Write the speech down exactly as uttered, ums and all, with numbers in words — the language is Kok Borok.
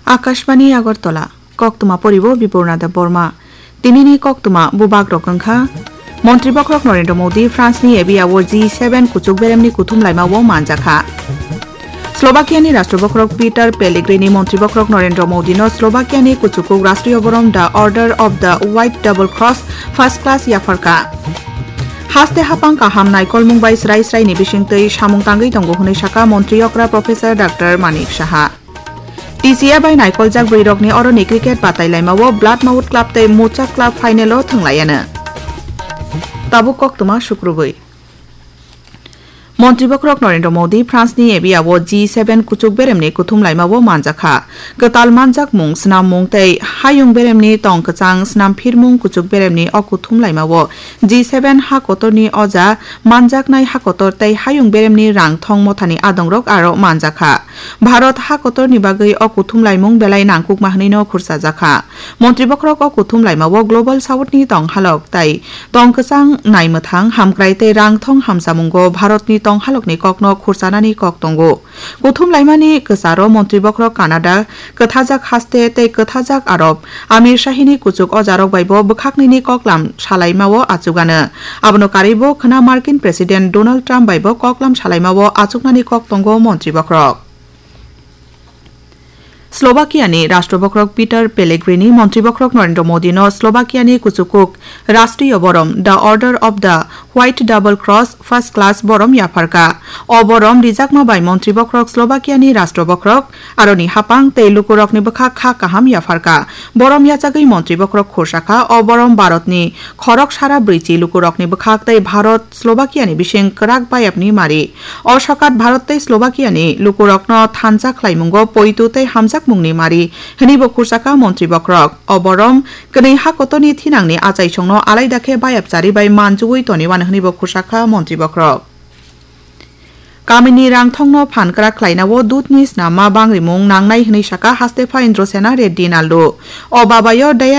Akashbani Agartala, koktwma poribo Bibornada Borma. Tinini koktwma bubak rok wngkha: Montri bokhorok Narendra Modi France ni Abia o G seven kuchuk beremni kuthum laima o manjakha. Slovakia ni Rashtra bokhorok Peter Pellegrini Montri bokhorok Narendra Modi no Slovakia ni kuchukuk Rashtriya borom The Order of the White Double Cross First Class yapharkha. Haste hapang kaham naikolmung bai srai srai ni bisingtwi samung tangwi tongo hwnwi sakha Montri okra Professor Doctor Manik Saha. T C A bai naikoljak bwrwirokni oroni cricket batai laimao Blood Mouth Club tei Mucha Club final o thwnglaiano. Tabuk koktwma sukrubwi. Montri bokhorok Narendra Modi France ni Abia o G seven kuchuk beremni kuthum laimao manjakha. Kwtal manjakmung, snammung tei hayung beremni tong kwchang snamphirmung kuchuk beremni o kuthum laimao G seven ha kotorni oja manjaknai ha kotor tei hayung beremni rang thong mothani adongrok aro manjakha. Bharat ha kotorni bagwi o kuthum laimung belai nangkukma hwnwino khursajakha. Montri bokhorok o kuthum laimao Global South ni tong halok tei tong kwchang naimwthang hamkrai tei rang thong hamsamungo Bharatni tong halokni kokno khursanani kok tongo. Kuthum laimani kwcharo Montri bokhorok Canada, kwthajak haste tei kwthajak Arab Amir Shahini kuchuk ojarok baibo bwkhaknwini koklam salaimao achugano. Abono karwibo khwna Markin President Donald Trump baibo koklam salaimao achuknani kok tongo Montri bokhorok. Slovakia ni Rashtra bokhorok Peter Pellegrini Montri bokhorok Narendra Modi no Slovakia ni kuchukuk Rashtriya borom The Order of the White Double Cross First Class borom yapharkha. O borom rijakma bai Montri bokhorok Slovakia ni Rashtra bokhorok aroni hapang tei lukurokni bwkha kha kaham yapharkha. Borom yachagwi Montri bokhorok khursakha, o borom Bharatni khorok sara brwichi lukurokni bwkhak tei Bharat Slovakia ni bising kwrak bayapni mari. O sokat Bharat tei Slovakia ni lukurokno thansa khlaimungo poitu tei hamjakmungni mari, hwnwibo khursakha Montri bokhorok. O borom kwnwi ha kotorni thinangni achaisongno alaida khe bayapchari bai manjugwi toniwan hwnwibo khursakha Montri bokhorok. Kamini rangthongno phan kwrak khlainao dudni snamma bangrimung nangnai hwnwi sakha Hastepha Indrasena Reddy Nallu. O babayo diary